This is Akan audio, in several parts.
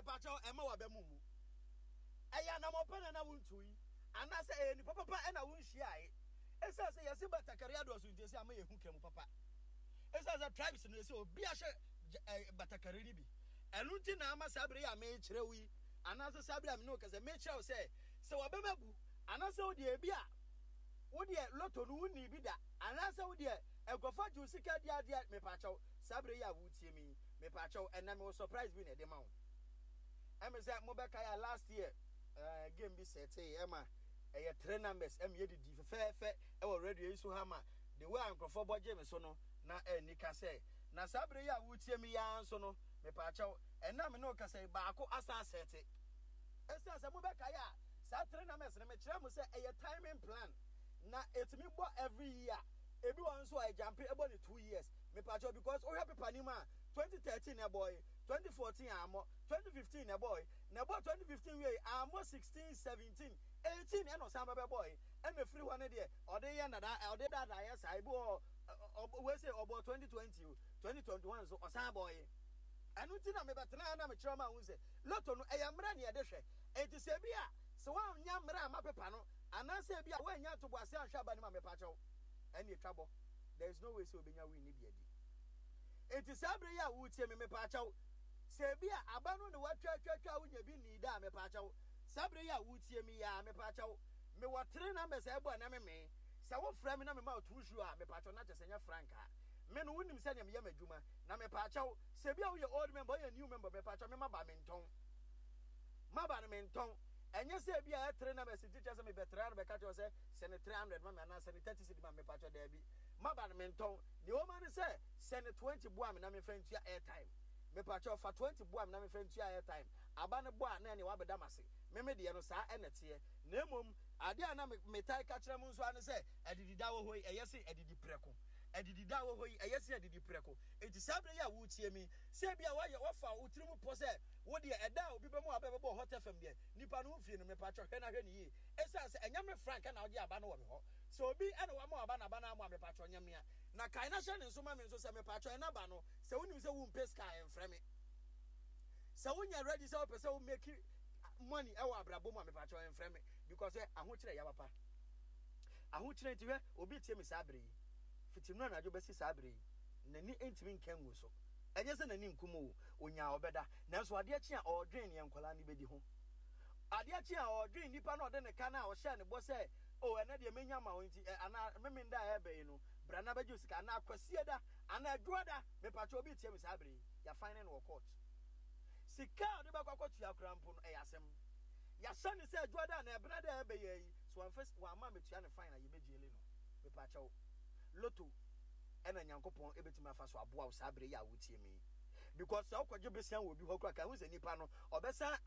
Mepakyɛw, ɛmma w'aba mu mmu. Ɛyɛ anammɔn pa na na wuntu yi, anaasɛ ɛyɛ nipa papa na wunhyiae? Esiane sɛ yɛse batakari adɔɔso nti, ɛsɛ ama yɛhu ka mu papa. Esiane sɛ tribes no, ɛsɛ obi ahyɛ batakari no bi. Ɛno nti na ama saa bere yi a merekyerɛ wo yi, anaasɛ saa bere a me ne wo kasa, mekyerɛ wo sɛ, sɛ w'abam abu, anaasɛ wo deɛ ebi a wo deɛ lotto no wunnii bi da, anaasɛ wo deɛ nkurɔfoɔ agye wo sika adi adeɛ, mepakyɛw, saa bere yi a woretie me yi, Mepakyɛw ɛnɛ mewɔ surprise bi na ɛde ma wo. Ɛmi sɛ mobɛkae a last year game bi sɛtee ɛma ɛyɛ three numbers ɛmi yɛ didi fɛfɛɛfɛ ɛwɔ radio yi so ha ma the way a nkurɔfoɔ bɔ gye me so no na ɛnni ka sɛ na saa bere yi a wotie me yi ara nso no mepakyɛw ɛnna me ne wo kasa yi baako asan asɛte. Ɛsiane sɛ mobɛkae a saa three numbers no mekyerɛ mo sɛ ɛyɛ timing plan na ɛtumi bɔ every year. Ebi wɔ hɔ nso a ɛgyampe ɛbɔ ne 2 years mepakyɛw, because wohwɛ paper no mu a, 2013 na ɛbɔe, 2014 ammɔ, 2015 na ɛbɔe, na ɛbɔ 2015 wiei ammɔ, 16, 17, 18 ɛna ɔsan bɛbɛbɔe. Ɛna ɛfiri hɔ no deɛ ɔde yɛ nada, ɔde daadaa yɛ saa. Ebi wɔ hɔ wei sɛ ɔbɔ 2020 o, 2021 nso ɔsan bɔe. Ɛno nti na mebɛtena na mekyerɛ ma ho sɛ lotto no ɛyɛ mmerɛ ne yɛde hwɛ. Enti sɛ ebi a sɛ woannya mmerɛ ama paper no anaasɛ ebi a woannya ntoboase anhwɛ aba no mu a, mepakyɛw, ɛne etwa bɔ, there is no way sɛ obenya win ne bi adi. Enti saa bere yi a woretie me, mepaakyɛw, sɛ ebi a aba no ne watwa atwa atwa a wonya bi nnii da a, mepaakyɛw, saa bere yi a woretie me yi a, mepaakyɛw, mewɔ three numbers a ɛbɔ a na memee. Sɛ wofrɛ me na mema wo two shoe a, mepaakyɛw, na kyerɛ sɛ ɛnyɛ frank a. Me no, wonim sɛnea meyɛ m'adwuma. Na mepaakyɛw, sɛ ebi a woyɛ old member, woyɛ new member, mepaakyɛw, me maba mentɔn. Maba no mentɔn. Ɛnyɛ sɛ ebi a ɛyɛ three numbers nti kyerɛ sɛ mebɛtra no bɛka kyerɛ wo sɛ sɛ ne 300 ma me anaa sɛ ne 30 cedi ma me, mepakyɛw, daabi. Maba no mentɔn. Nea ɛwɔ mu ara ne sɛ, sɛ ne 20 boa me na memfa ntua airtime. Mepakyɛw, fa 20 boa me na memfa ntua airtime. Aba no bɔ a, na ɛneɛ wabɛda m'ase. Me me deɛ no, saa ɛna ɛteɛ. Na mmom, adeɛ a na me metae ka kyerɛ mo nso ara ne sɛ, adidida wɔ hɔ yi, ɛyɛ sen adidi prɛko. Adidida wɔ hɔ yi, ɛyɛ sen adidi prɛko. Enti saa berɛ yi a woretie me yi, sɛ ebia woayɛ, woafa wo tirim pɔ sɛ wo deɛ, ɛda a obi bɛma w'aba bɛbɔ Hot FM deɛ, nipa no ho fie no, mepakyɛw, hwɛ na hwɛ no yie. Esiane sɛ ɛnyɛ me Frank na ɔgye aba no wɔ me hɔ. Sɛ obi na wama w'aba na aba no ammɔ a, mepakyɛw nyɛ mea. Na kae na hyɛ ne nso ma me nso sɛ mepakyɛw ɛna ba no, sɛ wonim sɛ wompɛ sika a, ɛmfrɛ me. Sɛ wonyɛ ready sɛ wopɛ sɛ wo make money ɛwɔ abrabɔ mu a, mepakyɛw ɛmfrɛ me because ɛ ahokyerɛ yɛ papa. Ahokyerɛ nti hwɛ obi tie me saa bere yi. Fiti nnora anadwo bɛsi saa bere yi, n'ani ntumi nka ngu so. Ɛnyɛ sɛ n'ani nkum o, onyaa ɔbɛda. Nanso adeɛ kye a ɔredwen nea nkwadaa no bɛdi ho. Adeɛ kye a ɔredwen nipa no a ɔde ne ka no a ɔhyɛɛ ne bɔ sɛ, O, ɛnnɛ deɛ mɛnya ama wo nti, ɛ, anaa Memenda a ɛreba yi no, bra na bɛgye wo sika, anaa Kwasiada, anaa Adwuada, mepakyɛ obi retie me saa bere yi, yɛafine no wɔ court. Sika a ɔde bɛkɔ akɔtua koraa mpo no, ɛyɛ asɛm. Yɛahyɛ no sɛ Adwuada anaa Ɛbenada a ɛreba yi, sɛ wamfa, wamma ammɛtua ne fine a, yɛbɛgyele no. Mepakyɛw, lotto ɛna Nyankopɔn ɛbɛtumi afa so aboa wo saa bere yi a wotie me yi. Because sɛ wokɔgye besia wɔ obi hɔ koraa, ka hu sɛ nipa no, ɔbɛsan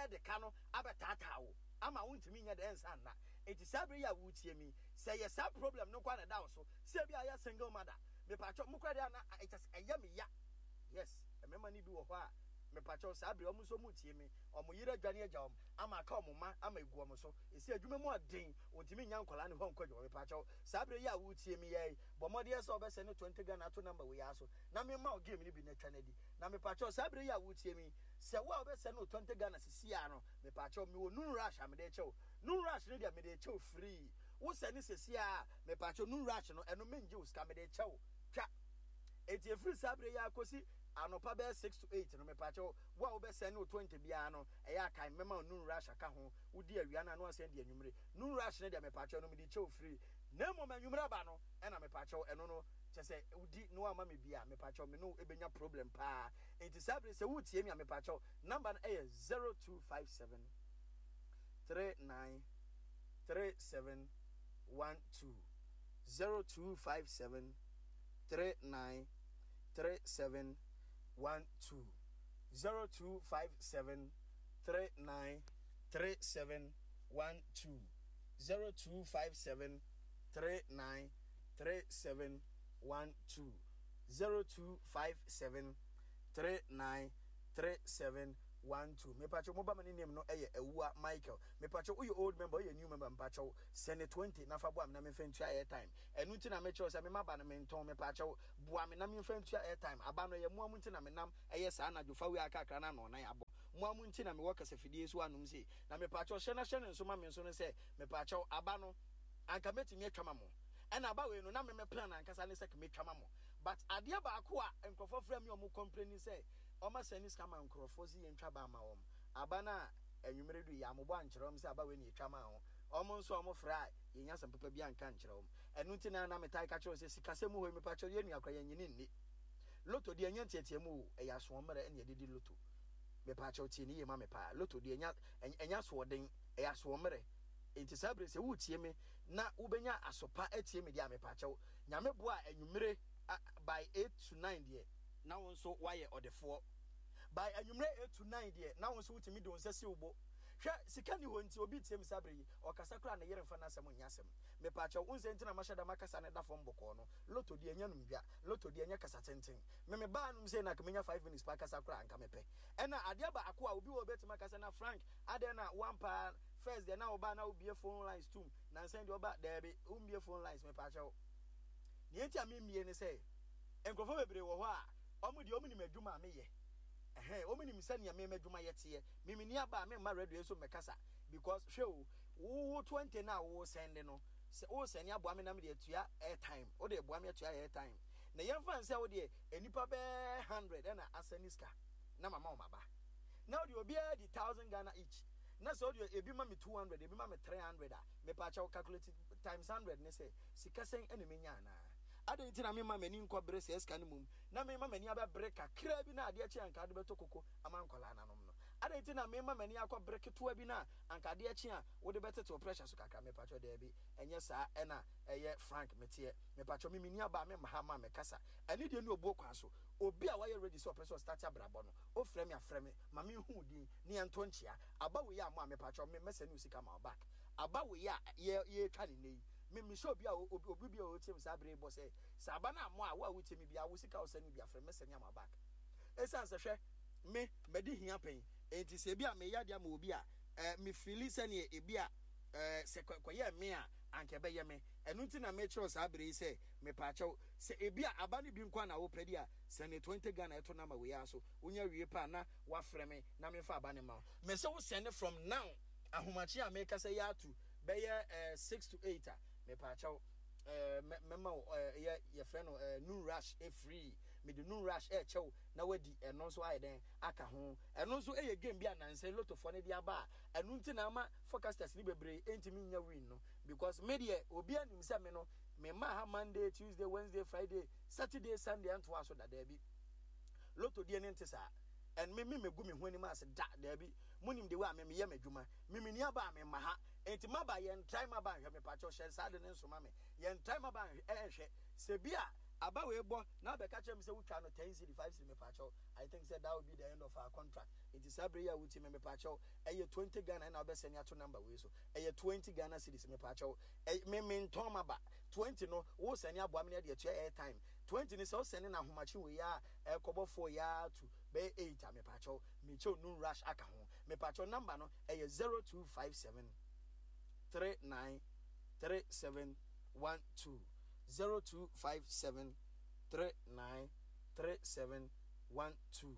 ɛde ka no abɛtaataa wo ama wontumi nyɛ dɛ nsa nna. Enti saa bere yi a woretie me yi, sɛ ɛyɛ saa problem no nko ara na ɛda wo so, sɛ ebi a yɛ single mother, mepakyɛw, mo koraa deɛ na ɛkyɛ sɛ ɛyɛ me ya. Yes, mmarima no bi wɔ hɔ a, mepakyɛw, saa bere wɔn nso wɔretie me, wɔn yere adwane agya wɔn ama aka wɔn mma ama egu wɔn so. Esi adwuma mu ɔden, wɔntumi nnya nkwadaa no hɔ nkɔ adwuma. Mepakyɛw, saa bere yi a woretie me yi, bɔ mmɔden sɛ wɔbɛsɛne 20 Ghana ato number wei ara so na memma wo game no bi na twa no adi. Na mepakyɛw, saa bere yi a woretie me yi, sɛ wo a wobɛsɛne wo 20 Ghana sisi ara no, mepakyɛw, mewɔ noon rush a mede rekyɛ wo. Noon rush no deɛ mede rekyɛ wo free. Wo sɛne sɛsi ara a, mepakyɛw, noon rush no, ɛno mengye wo sika, mede rekyɛ wo. Twa. Enti ɛfiri saa berɛ yi ara kɔsi anɔpa bɛyɛ 6 to 8 no, mepakyɛw, wo a wobɛsɛne wo 20 biara no, ɛyɛ a kae mɛma wo noon rush aka ho. Wodi awia no a, na woasan adi anwummere. Noon rush no deɛ, mepakyɛw, ɛno mede rekyɛ wo free. Na mmom anwummere aba no, ɛna mepakyɛw, ɛno no, kyerɛ sɛ wodi na woamma me bi a, mepakyɛw, me ne wo bɛnya problem paa. Enti saa bere sɛ woretie me a, mepakyɛw, number no yɛ 0257 39 37 12. 0257 39 37 12. 0257 39 37 12. 0257 39 37 12. 0257 39 37 12. Mepakyɛw, mo ba ma ne name no yɛ Awua Michael. Mepakyɛw, woyɛ old member, woyɛ new member, mepakyɛw, sɛne 20 na fa boa me na memfa ntua airtime. Ɛno nti na mekyerɛw sɛ me maba no mentɔn. Mepakyɛw, boa me na memfa ntua airtime. Aba no ɛyɛ mmoa mu nti na menam ɛyɛ saa anadwo fa wei a kakra na ano nan abɔ. Mo ara mo nti na mewɔ kasafidie so anom sei. Na mepaakyɛw hyɛ na hyɛ no nso ma me nso no sɛ, mepaakyɛw, aba no, anka mɛtumi atwa ma mo. Ɛna aba wei no, na me me plan ankasa ne sɛ ka mɛtwa ma mo. But adeɛ baako a nkurɔfoɔ frɛ me a wɔn complaini sɛ, wɔn asɛne sika ma nkurɔfoɔ sɛ yɛntwa ba mma wɔn. Aba no a anwummere du yi, yɛammobɔ ankyerɛ wɔn sɛ aba wei na yɛtwa maa wɔn. Wɔn nso a wɔfrɛ a, yɛnnya asɛm papa biara nka nkyerɛ wɔn. Ɛno nti na na metaa ka kyerɛ wɔn sɛ, sikasɛm mu hɔ yi, mepaakyɛw, yɛn nua koraa yɛnnye no nni. Lotto deɛ ɛnyɛ nteateamu o, ɛyɛ asoɔmmerɛ na yɛde di lotto. Mepaakyɛw tie no yie ma me paa. Lotto deɛ ɛnya ɛnyɛ asoɔden, ɛyɛ asoɔmmerɛ. Enti saa bere sɛ woretie me na wobɛnya aso pa atie me deɛ a mepaakyɛw, Nyame boa a anwummere by 8 to 9 deɛ, na wo nso woayɛ ɔdefoɔ. By anwummere 8 to 9 deɛ, na wo nso wotumi de wo nsa si wo bo. Hwɛ, sika nni hɔ nti obi retie me saa bere yi, ɔkasa koraa a ne yere mfa n'asɛm nyɛ asɛm. Mepaakyɛw, wohu sɛ nti na mahyɛ da makasa no da fam bɔkɔɔ no. Lotto deɛ ɛnyɛ anomdwa. Lotto deɛ ɛnyɛ kasa tenten. Me me baa nom sei na anka menya 5 minutes paa kasa koraa anka mepɛ. Ɛna adeɛ baako a obi wɔ hɔ obetumi aka sɛ na Frank adɛn na woampa first deɛ na woba na wobie phone lines tum nansa yi deɛ woba daabi wombie phone lines mepaakyɛw. Nea enti a memmie ne sɛ nkurɔfoɔ bebree wɔ hɔ a wɔn deɛ wɔn nim adwuma a meyɛ. Ɛhɛn wɔn nim sɛnea me m'adwuma yɛ teɛ. Me menni aba a memma radio so mmɛkasa because hwɛ o wo wo 20 no a wo sɛnde no sɛ wo sɛne aboa me na mede atua airtime wode boa me atua airtime na yɛmfa nsɛ wo deɛ nnipa bɛɛ 100 ɛna asɛne sika na mama wɔn aba na wode obiara di 1000 Ghana each na sɛ wode ebi ma me 200 ebi ma me 300 a mepaakyɛw calculate times 100 ne sɛ sika sɛn ɛna menya anaa adɛn nti na memma m'ani nkɔ bere sɛ sika no mum na memma m'ani abɛbere kakra bi na adeɛ kye anka wode bɛtɔ koko ama nkwadaa nanom no adɛn nti na memma m'ani akɔ bere ketewa bi na anka adeɛ kye a wode bɛtete wo pressure so kakra mepakyɛw daabi ɛnyɛ saa ɛna ɛyɛ Frank meteɛ mepakyɛw me menni aba a memma ha ma mekasa ɛne deɛ ne obuo kwan so obi a wayɛ ready sɛ ɔpɛ sɛ ɔstart abrabɔ no ofrɛ me afrɛ me ma menhu wo din ne yɛnto nkyea aba wei a mo a mepakyɛw me mɛsɛne wo sika ma wo back aba wei a yɛ yɛtwa ne nnɛ yi me mehyɛ obi a obi obi bi a ɔtie me saa bere yi bɔ sɛ sɛ aba no a mo a wo a wotie me bia wo sika a wosɛne bi afrɛ me mɛsɛne ama wo back ɛsiane sɛ hwɛ me madi hia pɛn enti sɛ ebi a meyɛ adeɛ ama obi a eh, me feeli sɛneɛ ebi a eh, sɛ kɔyɛɛ me a anka ɛbɛyɛ me. Ɛno nti na mekyerɛw saa bere yi sɛ mepaakyɛw, sɛ ebi a aba no bi nko a na wopɛ de a, sɛne 20 Ghana ɛto number wei ara so. Wonya wie pɛ a na woafrɛ me na memfa aba no mma wo. Mese wo sɛne from now, ahomakye a mekasa yi ato bɛyɛ eh, 6 to 8 a, mepaakyɛw, eh, mɛma wo eh, yɛ yɛfrɛ no eh, noon rush eh, free. Mede noon rush ɛɛkyɛ wo na wadi ɛno nso ayɛ dɛn aka ho. Ɛno nso yɛ game bi a nansa yi lottofoɔ no de aba a ɛno nti na ama forecasters no bebree ntumi nnya win no because me deɛ obiara nim sɛ me no me mma ha Monday, Tuesday, Wednesday, Friday, Saturday, Sunday ɛntoa so da daabi. Lotto deɛ ne nte saa. And me me megu me ho anim ase da daabi. Monim the way a me meyɛ m'adwuma. Me menni aba a me mma ha. Enti maba yɛn try maba nhwɛ me pakyɛw hyɛ saa de ne nsoma me. Yɛn try maba nhwɛ ɛnhwɛ. Sɛ bi a aba wei bɔ na abɛka kyerɛ me sɛ wotwa no 10 cedi 5 cedi me pakyɛw. I think sɛ that will be the end of our contract. Nti saa bere yi a wotie me mepaakyɛw ɛyɛ 20 Ghana ɛna wobɛsɛne ato number wei so. Ɛyɛ 20 Ghana cedis mepaakyɛw. Ɛ me mentɔn maba. 20 no wo sɛne aboa me na ɛde atua airtime. 20 no sɛ wosɛne no ahomakye wei a ɛkɔbɔ 4 yi ara to bɛyɛ 8 a mepaakyɛw mekyɛw noon rush aka ho. Mepaakyɛw number no ɛyɛ 0257 39 37 12 0257 39 37 12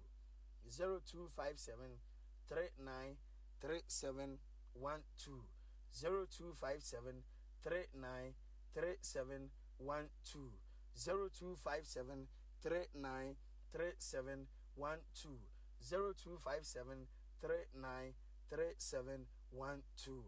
0257 39 37 12 0257 39 37 12 0257 39 37 12 0257 39 37 12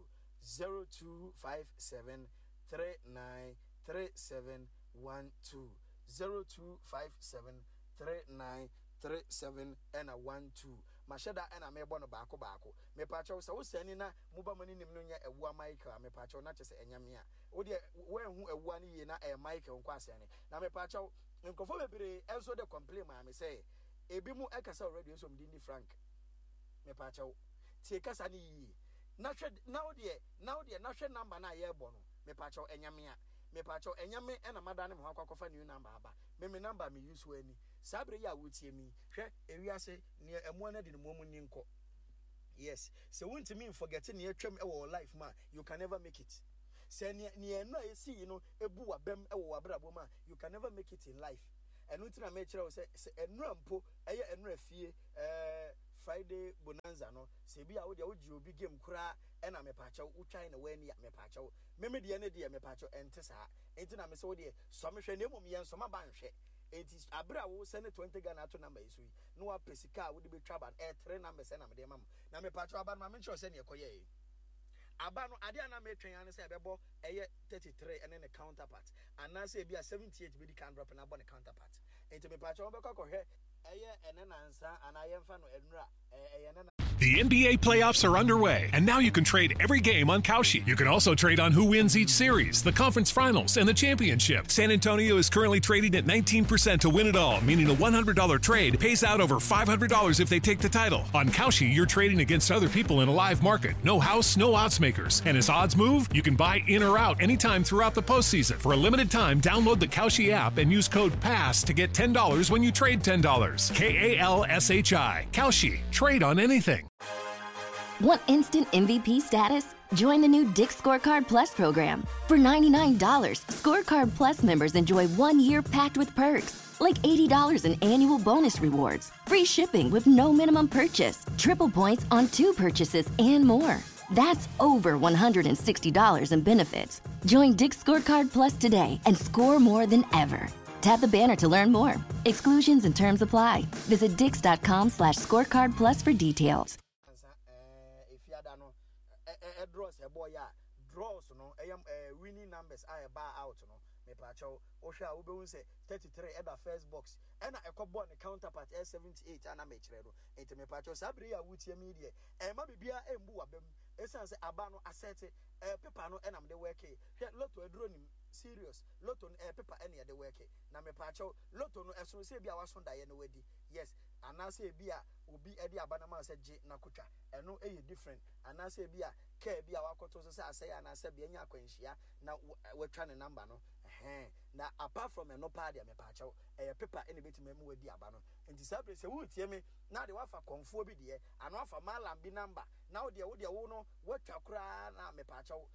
0257 39 37 12 0257 39 37 ɛna 12 mahyɛ da ɛna mebɔ no baako baako. Mepaakyɛw sɛ wosɛne na moba mo anim no nyɛ Awua Michael a, mepaakyɛw na kyɛ sɛ ɛnyɛ me a wodeɛ woanhu Awua no yie na ɛyɛ Michael nko asɛne na mepaakyɛw. Nkurɔfoɔ bebree nso de complain maa me sɛ ebi mo ɛkasa wɔ radio so mede ni Frank, mepaakyɛw tie kasa no yie na hwɛ na wodeɛ na wodeɛ na hwɛ number no a yɛrebɔ no. Mepaakyɛw ɛnyɛ me a, mepaakyɛw ɛnyɛ me ɛna madane me ho akɔ akɔfa new number aba. Me me number me use ani saa bere yi a wotie mi. Hwɛ, ewiase nea ɛmoa no adi no moa mu ni nkɔ. Yes, sɛ wontumi nforget nea atwam wɔ wɔ life mu a, you can never make it. Sɛ nea nea ɛno a esi yi no ebu w'abam wɔ w'abrabɔ mu a, you can never make it in life. Ɛno nti na mekyerɛ wo sɛ sɛ ɛnora mpo ɛyɛ ɛnora fie ɛɛ. Friday bonanza no, sɛ ebi a wo deɛ wogye obi game koraa ɛna mepaakyɛw wotwae na woanni a, mepaakyɛw. Me me deɛ ne deɛ mepaakyɛw ɛnte saa. Enti na mese wo deɛ sɔ me hwɛ na mmom yɛnsɔ m'aba nhwɛ. Enti abere a wo sɛne 20 Ghana ato number yi so yi na wapɛ sika a wode bɛtwa aba no, ɛyɛ three numbers ɛna mede ma mo. Na mepaakyɛw aba no ma menkyerɛ wo sɛdeɛ ɛkɔyɛɛe. Aba no, adeɛ a na metwɛn ara ne sɛ ɛbɛbɔ ɛyɛ 33 ɛne ne counterpart anaasɛ ebi a 78 bɛdi kan drop na abɔ ne counterpart. Enti mepaakyɛw wobɛkɔ akɔhwɛ ɛyɛ ɛnɛ nansa anaa yɛmfa no ɛnura ɛyɛ ɛnɛ. The NBA playoffs are underway, and now you can trade every game on Kalshi. You can also trade on who wins each series, the conference finals, and the championship. San Antonio is currently trading at 19% to win it all, meaning a $100 trade pays out over $500 if they take the title. On Kalshi, you're trading against other people in a live market. No house, no odds makers. And as odds move, you can buy in or out anytime throughout the postseason. For a limited time, download the Kalshi app and use code PASS to get $10 when you trade $10. K A L S H I. Kalshi. Trade on anything. Want instant MVP status? Join the new Dick's Scorecard Plus program. For $99, Scorecard Plus members enjoy 1 year packed with perks, like $80 in annual bonus rewards, free shipping with no minimum purchase, triple points on 2 purchases, and more. That's over $160 in benefits. Join Dick's Scorecard Plus today and score more than ever. Tap the banner to learn more. Exclusions and terms apply. Visit dicks.com/scorecard plus for details. Ansa eh, efiada no eh, eh, draws ɛbɔ yɛ a draws no ɛyɛ eh, winning numbers a ɛbaa out no mepaakyɛw wohwɛ a wobɛhu sɛ 33 ɛda first box ɛna ɛkɔbɔɔ ne counterpart ɛyɛ 78 a na mekyerɛ no nti mepaakyɛw saa bere yi a wotie me deɛ ɛma biribiara ɛmbu w'abam ɛsiane sɛ aba no asɛte ɛɛ pepa no ɛna mede wɛke hwɛ lotto aduro nim serious lotto no ɛyɛ pepa ɛna yɛde wɛke na mepaakyɛw lotto no ɛsono sɛ ebi a waso daeɛ na wadi yes anaasɛ ebi a obi ɛde aba no ma sɛ gye na kotwa ɛno ɛyɛ different anaasɛ ebi a kaa bi a wakɔto so sɛ asɛe anaasɛ bea nya akwanhyia na watwa ne number no ɛhɛn na apart from ɛno paa deɛ mepaakyɛw ɛyɛ pepa ɛna ebetumi ama wadi aba no nti saa bere sɛ woretie me na de wafa kɔnfoɔ bi deɛ ano afa malam bi number na wo deɛ wo deɛ wo no watwa koraa na mepaakyɛw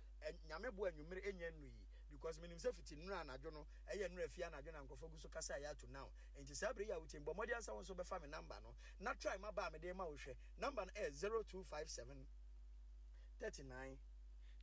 Nyame boa anwummere ɛnyɛ nnu yi because menim sɛ fiti nnura anadwo no ɛyɛ nnura fie anadwo na nkurɔfoɔ gu so kasa ɛyɛ ato now nti saa bere yi a wotie bɔ mmɔden ansa wo nso bɛfa me number no na try ma ba a mede ma wo hwɛ number no ɛyɛ 0257 39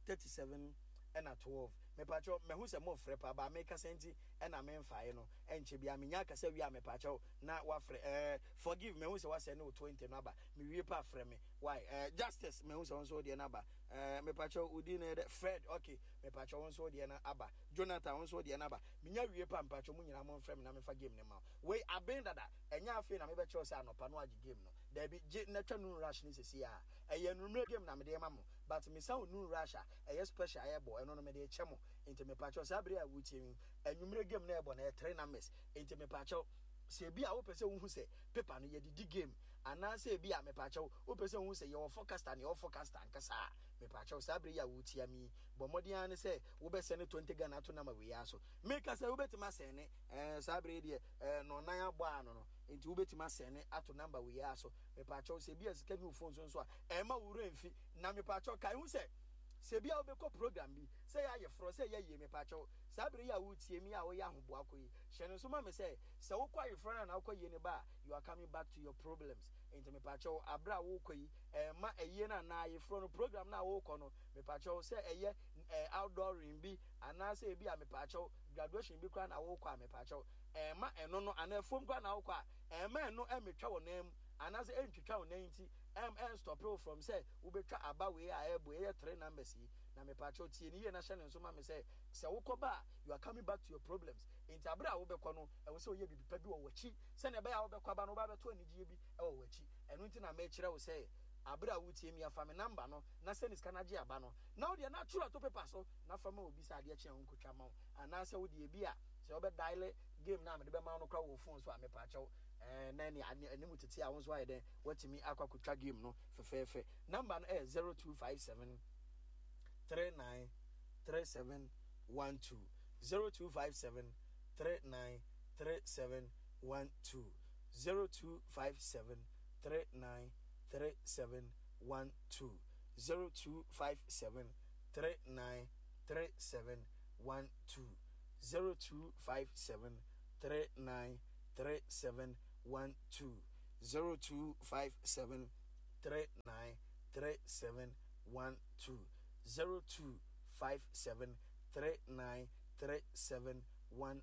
37 ɛna 12 mepaakyɛw mahu sɛ mofrɛ paa baa mekasa nti ɛna memfae no ɛnkyɛ bia menya akasa wie a mepaakyɛw na wafrɛ ɛɛ forgive mahu sɛ wasɛ ne wo 20 no aba mewie pa frɛ me why ɛɛ justice mahu sɛ wo nso wodeɛ no aba Ɛɛ mepakyɛw wo din no yɛ dɛ? Fred, ok, mepakyɛw wo nso wo deɛ no aba. Jonathan, wo nso wo deɛ no aba. Menya wie pɛ a, mepakyɛw mo nyinaa momfrɛ me na memfa game no mma wo. Wei aben dada, ɛnyɛ afei na mebɛkyerɛ wo sɛ anɔpa na woagye game no. Daabi, gye na twa noon rush no seesei ara. Ɛyɛ anwummerɛ game na mede rema mo, but mesan wo noon rush a, ɛyɛ special a ɛbɔ, ɛno no mede rekyɛ mo. Enti mepakyɛw saa bere a woretie me yi, anwummerɛ game no a ɛbɔ no, ɛyɛ three numbers. Enti mepakyɛw, sɛ ebia wopɛ sɛ wohu sɛ paper no yɛde di game, anaasɛ ebia mepakyɛw, Wopɛ sɛ wohu sɛ yɛwɔ forecaster ne yɛwɔ forecaster ankasa a, mepaakyɛw, saa bere yi a woretia me yi, bɔ mmɔden ara ne sɛ wobɛsɛne 20 Ghana ato number wei ara so. Meka sɛ wobɛtumi asɛne, ɛɛ, saa bere yi deɛ, ɛɛ, nnɔnnan abɔ ano no, nti wobɛtumi asɛne ato number wei ara so. Mepaakyɛw, sɛ ebia sika nni wo phone so nso a, ɛmma wo werɛ mfi. Na mepaakyɛw, kae hu sɛ, sɛ ebia wobɛkɔ program bi, sɛ ɛyɛ ayeforɔ, sɛ ɛyɛ ayie, mepaakyɛw, saa bere yi a woretie me yi a woyɛ ahoboa kɔ yi, hyɛ no nso ma me sɛ, sɛ wokɔ ayeforɔ no anaa wokɔ ayie no ba a, you are coming back to your problems. Nti mepakyɛw aberɛ a worekɔ yi ɛmma ayie no anaa ayeforɔ no program no a worekɔ no mepakyɛw sɛ ɛyɛ outdooring bi anaasɛ ebi a mepakyɛw graduation bi koraa na worekɔ a mepakyɛw ɛmma ɛno no anaa afuom koraa na wokɔ a ɛmma ɛno ɛmmetwa wo nan mu anaasɛ ɛntwitwa wo nan nti ɛm ɛnstɔpe wo from sɛ wobɛtwa aba wei a ɛɛbɔ ɛyɛ three numbers yi na mepakyɛw tie no yie na hyɛ ne nso ma me sɛ sɛ wokɔ ba a you are coming back to your problems nti aberɛ a wobɛkɔ no ɛwɔ sɛ woyɛ biribi pa bi wɔ w'akyi sɛnea ɛbɛyɛ a wobɛkɔ aba no woba abɛto anigyeɛ bi wɔ w'akyi. Ɛno nti na mekyerɛ wo sɛ aberɛ a wotie me a fa me number no na sɛne sika no agye aba no na wodeɛ na twerɛ to paper so na fa ma obi sɛ adeɛ kye a ɔnkɔtwa ma wo anaasɛ wodeɛ bi a sɛ wobɛ diale game no a mede bɛma wo no koraa wɔ phone so a mepaakyɛw ɛɛ na ɛne anim tete a wo nso ayɛ dɛn watumi akɔ akɔtwa game no fɛfɛɛfɛ. Number no ɛyɛ 0257 39 37 12 0257 39 37 12 0257 39 37 12 0257 39 37 12 0257 39 37 12. 0257 39 37 12 0257 39 37 12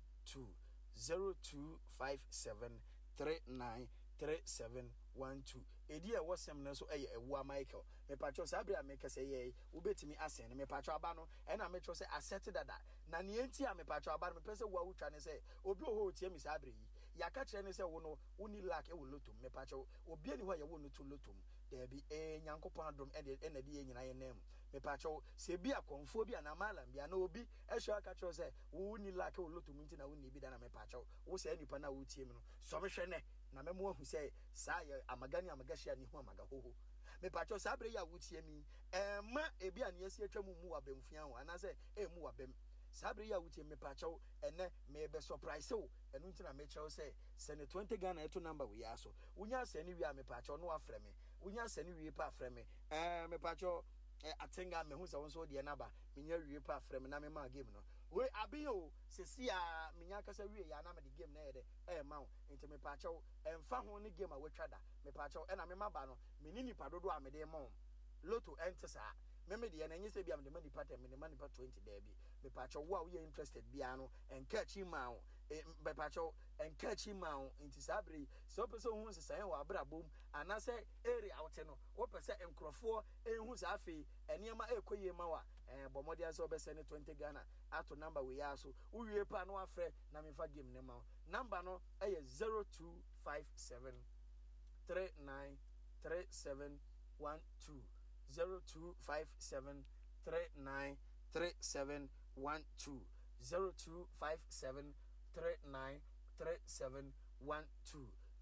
0257 39 37 12 Edin a ɛwɔ sɛm no nso yɛ Awua Michael. Mepakyɛw saa bere a mekasa yi yi wobetumi asɛn no. Mepakyɛw aba no ɛna mekyerɛw sɛ asɛte dada. Na nea enti a mepakyɛw aba no mepɛ sɛ wo a wotwa ne sɛ obi wɔ hɔ a otie me saa bere yi. Yɛaka kyerɛ no sɛ wo no wonni luck wɔ lotto mu. Mepakyɛw obi nni hɔ a yɛwoo no to lotto mu. Daabi ee Nyankopɔn adom ɛna ɛde yɛn nyinaa yɛn nan mu. Mepakyɛw sɛ ebi a kɔmfoɔ bi anaa mallam bi anaa obi ahyia wo aka kyerɛ wo sɛ wo wonni luck wɔ lotto mu nti na wonni bi da na mepakyɛw wo saa nipa no a wotie me no sɔ me hwɛ nnɛ na mɛma woahu sɛ saa yɛ amaga ne amagahyia ne hu amaga hoho. Mepakyɛw saa bere yi a wotie me yi ɛmma ebi a nea asi atwa mu mmu w'abamfua ho anaasɛ ɛmmu w'abam. Saa bere yi a wotie me mepakyɛw ɛnnɛ merebɛ surprise wo ɛno nti na mekyerɛ wo sɛ sɛne 20 Ghana ɛto number wei ara so. Wonya sɛne wie a mepakyɛw na wafrɛ me. Wonya sɛne wie pɛ a frɛ me. Ɛɛ mepakyɛw eh, Atenga mehu sɛ wo nso wo deɛ no aba. Menya wie pɛ a frɛ me na mema game no. Wei aben o, sɛsi a menya akasa wie yɛ a na mede game no ɛyɛ dɛ ɛɛma wo. Nti mepakyɛw ɛmfa ho ne game a watwa da. Mepakyɛw ɛna me maba no menni nipa dodoɔ a mede rema wɔn. Lotto ɛnte saa. Me me deɛ no ɛnyɛ sɛ ebia mede ma nipa ten, mede ma nipa 20 daabi. Mepakyɛw wo a woyɛ interested biara no ɛnka akyi mmaa wo. E, mepakyɛw ɛnka akyi mmaa wo. Nti saa bere yi sɛ wopɛ sɛ wohu nsesaeɛ wɔ w'abrabɔ mu anaasɛ area a wote no wopɛ sɛ nkurɔfoɔ nhu sɛ afei nneɛma ɛrekɔ yie ma wo a, ɛɛ bɔ mmɔden ara sɛ wobɛsɛne 20 Ghana ato number wei ara so. Wowie pɛ a na wafrɛ na memfa game no mma wo. Number no yɛ 0257 39 37 12 0257 39 37 12 0257 39 37 12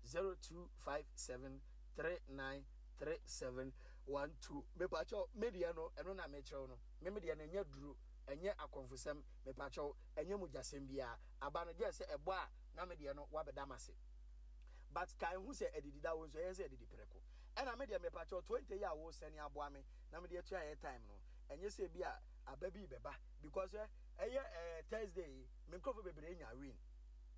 0257 39 37 12 Mepakyɛw, me deɛ no, ɛno na mekyerɛw no. Me me deɛ no, ɛnyɛ duro, ɛnyɛ akɔmfosɛm, mepakyɛw, ɛnyɛ mogyasɛm biara. Aba no, gyɛɛ sɛ ɛbɔ a na me deɛ no wabɛda m'ase. But kae hu sɛ adidi da wo nso, ɛyɛ sɛ adidi prɛko. Ɛna me deɛ mepakyɛw, 20 yi a wosɛne aboa me na mede atua airtime no, ɛnyɛ sɛ ebi a aba bi rebɛba because ɛ ɛyɛ eh, Thursday yi, me nkurɔfoɔ bebree nya win.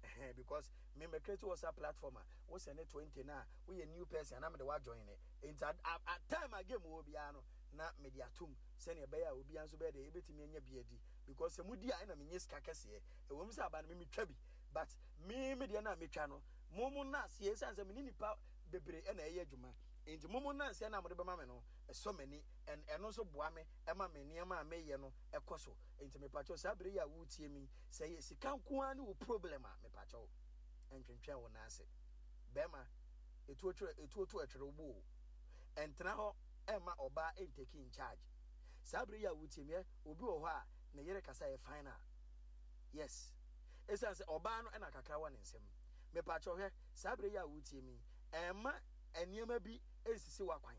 Ɛhɛn, because me me create WhatsApp platform a, wo sɛne 20 no a, woyɛ new person a na mede wo ajoin ne. Nti at, at, at time a game wɔ biara no, na mede atom sɛnea ɛbɛyɛ a obiara nso bɛyɛ dɛ ebetumi anya bi adi. Because sɛ mudi a ɛna menya sika kɛseɛ. Ɛwɔ mu sɛ aba no me metwa bi, but me me deɛ no a metwa no, mo mo nna aseɛ esiane sɛ me ne nipa bebree ɛna ɛyɛ adwuma. Nti mo mo nna aseɛ no a mode bɛma me no, ɛsɔ m'ani and ɛno nso boa me ɛma me nneɛma a meyɛ no ɛkɔ so. Nti mepakyɛw saa bere yi a woretie me yi, sɛ ɛyɛ sika nko ara ne wo problem a, mepakyɛw ɛntwentwɛn wo nan ase. Bɛrima, etuo twerɛ etuo to ɛtwere wo bo o. Ɛntena hɔ ɛmma ɔbaa ɛntake in charge. Saa bere yi a woretie me, ɛ, obi wɔ hɔ a ne yere kasa ɛyɛ final. Yes. Esiane sɛ ɔbaa no ɛna kakra wɔ ne nsam. Mepakyɛw hwɛ, saa bere yi a woretie me yi, ɛmma nneɛma bi ɛnsisi w'akwan.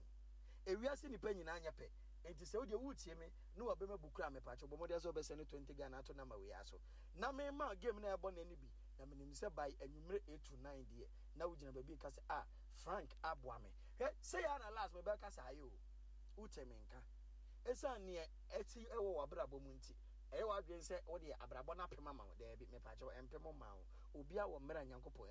Ewiase nnipa nyinaa nyɛ pɛ. Enti sɛ wodeɛ woretie me ne w'abam abu koraa a mepakyɛw bɔ mmɔden sɛ wobɛsɛne 20 Ghana ato number wei ara so na mema wo game no a ɛbɔ nnɛ no bi na menim sɛ by anwummere 8 to 9 deɛ na wogyina baabi reka sɛ ah Frank aboa me. Hwɛ sei ara na last mebɛka saa ayɛ o. Wote me nka. Esiane neɛ asi wɔ w'abrabɔ mu nti ɛyɛ w'adwene sɛ wodeɛ abrabɔ no apem ama wo. Daabi mepakyɛw ɛmpem mmaa wo. Obiara wɔ mmerɛ a Nyankopɔn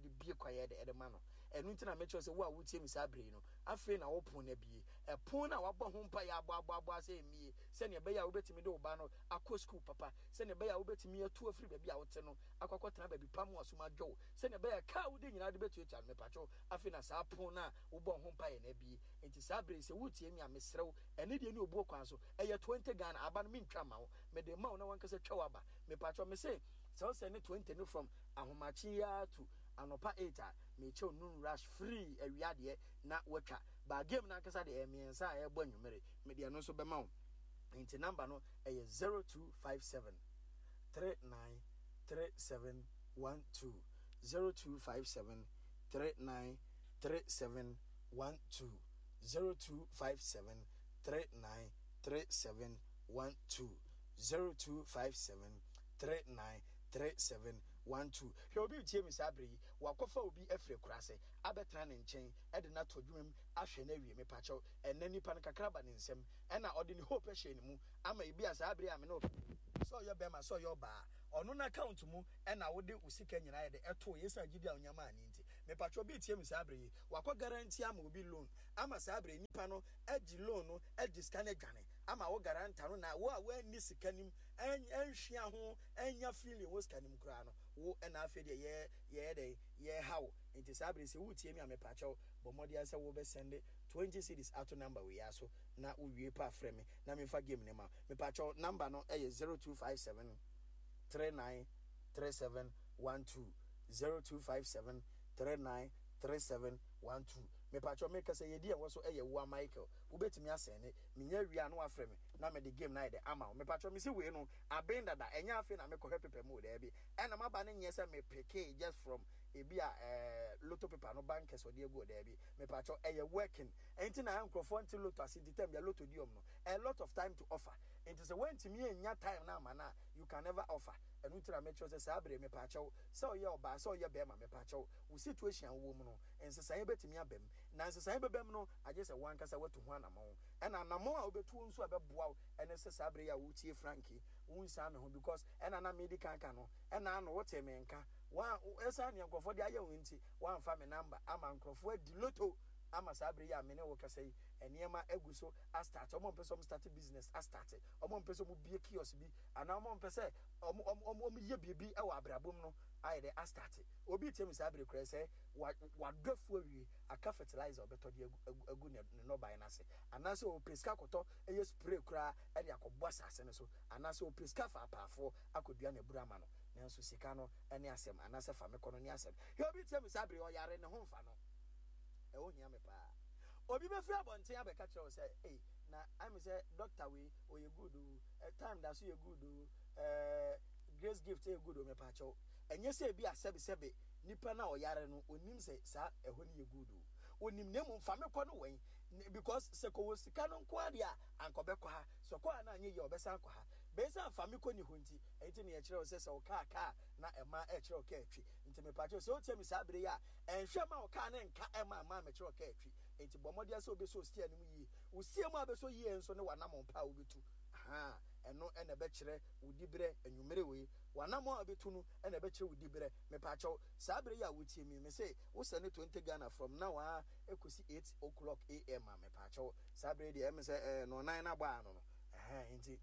de bue kwan de ma no. Ɛno nti na mekyerɛ sɛ wo a wotie me saa bere yi no, afei na wo pon no abue. Ɛpon no a wɔabɔ ho mpae aboaboaboa sɛ emmue, sɛnea ɛbɛyɛ a wubetumi de wo ba no akɔ sukuu papa, sɛnea ɛbɛyɛ a wubetumi atu afiri baabi a wote no akɔ akɔtena baabi pa ma w'asom adwo wo, sɛnea ɛbɛyɛ a ka a wode nyinaa wode betuatua no. Mepakyɛw, afei na saa pon no a wobɔɔ ho mpae no abue. Enti saa bere yi, sɛ wuretie me a, mesrɛ wo, ɛne deɛ ne obuo kwan so, ɛyɛ 20 Ghana, aba no mentwa mma wo, mede rema wo na w'ankasa twa w'aba. Mepakyɛw, mese sɛ wosɛne 20 no from ahomakye yi ara to anɔpa 8 a, mekyɛ wo noon rush free awia deɛ na watwa. But game no ankasa deɛ ɛyɛ mmiɛnsa a ɛrebɔ anwummere. Mede ɛno nso bɛma wo. Nti number no ɛyɛ 0257 39 37 12 0257 39 37 12 0257 39 37 12 0257 39 37 12 Hwɛ obi retie me saa bere yi, wakɔfa obi afiri akuraase abɛtena ne nkyɛn de no ato adwuma mu ahwɛ no awie. Mepakyɛw, ɛnnɛ nipa no kakra ba ne nsam ɛna ɔde ne hope hyɛɛ ne mu ama ebia saa bere a me ne wo sɛ ɔyɛ bɛrima sɛ ɔyɛ ɔbaa ɔno n'account mu ɛna wode wo sika nyinaa yɛ de ɛtoo yɛ esiane gyidi a onya maa ne nti. Mepakyɛ obi retie me saa bere yi, wakɔ guarantee ama obi loan ama saa bere yi nipa no agye loan no agye sika no adwane ama wo guarantor no na wo a woanni sika no mu anhwia ho annya feeling wɔ sika no mu koraa no wo na afei deɛ yɛ yɛyɛ dɛn yɛha wo. Nti saa bere yi sɛ woretie me a mepakyɛw bɔ mmɔden ara sɛ wobɛ sɛnde 20 cedis ato number wei ara so na wowie pɛ a frɛ me na memfa game no ma wo. Mepakyɛw number no yɛ 0257 39 37 12 0257 39 37 12. Mepakyɛw mekasa yi edin a ɛwɔ so yɛ Woa Michael. Wobɛtumi asɛnde. Menya wie a na wafrɛ me na mede game no ayɛ dɛ ama wo. Mepakyɛw mese wei no aben dada ɛnyɛ afei na mekɔhwɛ paper mu o daabi. Ɛna maba no nyɛ sɛ me pickee just from ebi a eh lotto paper no bankers ɔde agu hɔ daabi. Mepakyɛw ɛyɛ working. Ɛnti na nkurɔfoɔ nte lotto ase nti time bia lotto di wɔn no a lot of time to offer. Nti sɛ woantumi annya time no amma no a you can never offer. Ɛno nti na mekyerɛ wo sɛ saa bere yi mepaakyɛw sɛ ɔyɛ ɔbaa sɛ ɔyɛ bɛɛma mepaakyɛw wo situation a wowɔ mu no nsesaeɛ bɛtumi aba mu. Na nsesaeɛ bɛba mu no agye sɛ wo ankasa woatu ho anamɔn. Ɛna anamɔn a wobɛtuo nso a ɛbɛboa wo ɛne sɛ saa bere yi a woretie Frank yi wonsan me ho because ɛna na medi kan ka no ɛna ano wotee me nka wa ɛsan nea nkurɔfoɔ de ayɛ wo nti woamfa me number ama nkurɔfoɔ adi lotto ama saa bere yi a me ne wo kasa yi nneɛma agu so astarte wɔn a wɔpɛ sɛ wɔn starte business astarte wɔn a wɔpɛ sɛ wɔn bue kiosk bi anaa wɔn a wɔpɛ sɛ wɔn wɔn wɔn yɛ biribi wɔ abrabɔ mu no ayɛ dɛ astarte obi tie mi saa bere koraa sɛ wa wadɔ afu awie aka fertilizer ɔbɛtɔ de agu agu agu ne ne nnɔbaeɛ no ase anaasɛ ɔpɛ sika kɔtɔ ɛyɛ spray koraa ɛde akɔbɔ asase no so anaasɛ ɔpɛ sika fa apaafoɔ akɔdua n'abura ama no nanso sika no ɛne asɛm anaasɛ fa me kɔ no ne asɛm hwɛ obi tie mi saa bere ɔyare ne ho mfa no ɛho hia me paa obi bɛfiri abɔnten abɛka kyerɛ wo sɛ ei na ayɛ sɛ doctor wei ɔyɛ good o eh, time da so yɛ good o eh, grace gift yɛ good o mepaakyɛw ɛnyɛ sɛ ebi a sɛbesɛbe nipa no a ɔyare no onim sɛ saa ɛhɔ no yɛ good o onim na mmom fa me kɔ no wɛn because sɛ kɔwɔ sika no nko adeɛ a anka ɔbɛkɔ ha sɛ ɔkɔ ha no anyɛ yie a ɔbɛsan akɔ ha bɛyɛ fa me kɔ ni hɔ nti ɛnti ne yɛkyerɛ wo sɛ sɛ wo kaa kaa na ɛma ɛkyerɛ wo kaa twi nti mepaakyɛw sɛ wotie me saa bere yi a ɛnhwɛ ma wo kaa ne nka ɛma ɛma mekyerɛ wo kaa twi Enti bɔ mmɔden sɛ wobɛsɔ steer no mu yie. Wo steer mu a wobɛsɔ yie nso ne w'anammɔn pa a wobɛtu. Ahaa, ɛno na ɛbɛkyerɛ wo diberɛ anwummere wei. W'anammɔn a wobɛtu no na ɛbɛkyerɛ wo diberɛ. Mepaakyɛw, saa berɛ yi a wotie me yi, mese wo sɛne 20 Ghana from now ara kɔsi 8 o'clock AM a, mepaakyɛw, saa berɛ yi deɛ ɛyɛ me sɛ ɛɛ nnɔnnan no abɔ ano no. Ɛhɛn, enti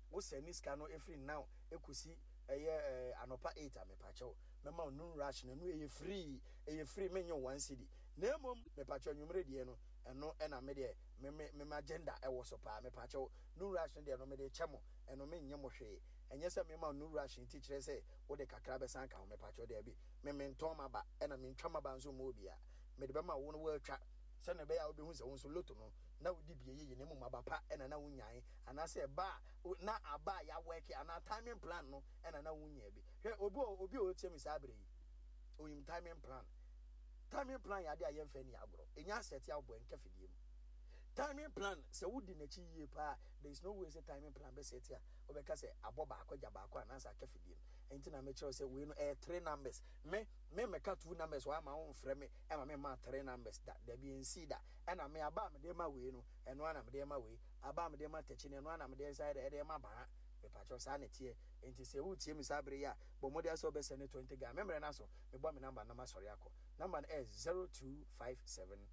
wo sɛne sika no firi now kɔsi ɛyɛ ɛɛ anɔpa 8 a, mepaakyɛw, mɛma wo noon rush no, ɛno ɛyɛ free, ɛyɛ free, mennye wo one cedi. Na mmom mepakyɛw anwummere deɛ no ɛno na me deɛ me me me m'agenda ɛwɔ so paa mepakyɛw noon rush no deɛ no mede kyɛ mo ɛno me nnye mo hwee ɛnyɛ sɛ mema wo noon rush nti kyerɛ sɛ wode kakra bɛsan aka ho mepakyɛw daabi me mentɔn m'aba ɛna mentwa m'aba nso mma obiara mede bɛma wo no woatwa sɛnea ɛbɛyɛ a wobɛhu sɛ wo nso loto no na wodi bi ɛyɛ yie na mmom aba pa ɛna na wonyae anaasɛ ɛba a na aba a yɛawɛke anaa timing plan no ɛna na wonyaa bi hwɛ obi obi a ɔretie me saa berɛ yi onim timing plan Timing plan yɛ ade a yɛmfa nni agorɔ. Ɛnya asɛte a wobɔ ɛnka fidie mu. Timing plan, sɛ wodi n'akyi yie paa a, there is no way sɛ timing plan bɛsɛte a wobɛka sɛ abɔ baako agya baako anaasɛ aka fidie mu. Ɛnti na mekyerɛ wo sɛ wei no ɛyɛ three numbers. Me, me mmɛka two numbers wɔ ha ma womfrɛ me ɛma me mmaa three numbers da. Dabi ɛnsii da. Ɛna me aba a mede ma wei no, ɛno ara na mede ma wei. Aba a mede ma takyi no, ɛno ara na mede nsa yɛ dɛ ɛde ma baa. Mepakyɛw saa na ɛteɛ. Ɛnti sɛ woretie me saa bere yi a, bɔ mmɔden ara sɛ wobɛsɛne 20 Ghana. Me mmerɛ no aso. Mebɔ me number na masɔre akɔ. Number no ɛyɛ 0257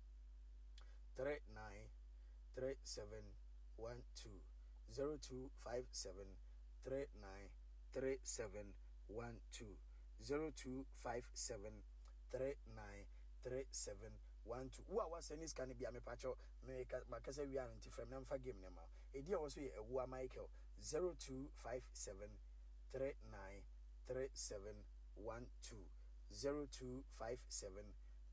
39 37 12 0257 39 37 12 0257 39 37 12 Wo a woasɛne sika no bia mepakyɛw meka makasa wie a nti frɛ me na mfa game no ma wo. Edin a ɛwɔ so yɛ Awuah Michael 0257 39 37 12 0257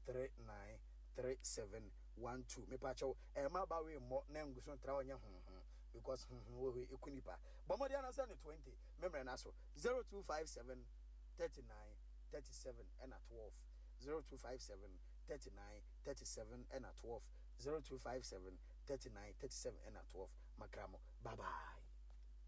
39 37 12 mepakyɛw ɛmma ba wei mmɔ na ngu so ntra hɔ nyɛ honhom because honhom wɔ hɔ yi eku nipa bɔ mmɔden ana sɛ ne 20 me mmerɛ no aso 0257 39 37 ɛna 12 0257 39 37 ɛna 12 0257 39 37 ɛna 12 makra mo bye bye.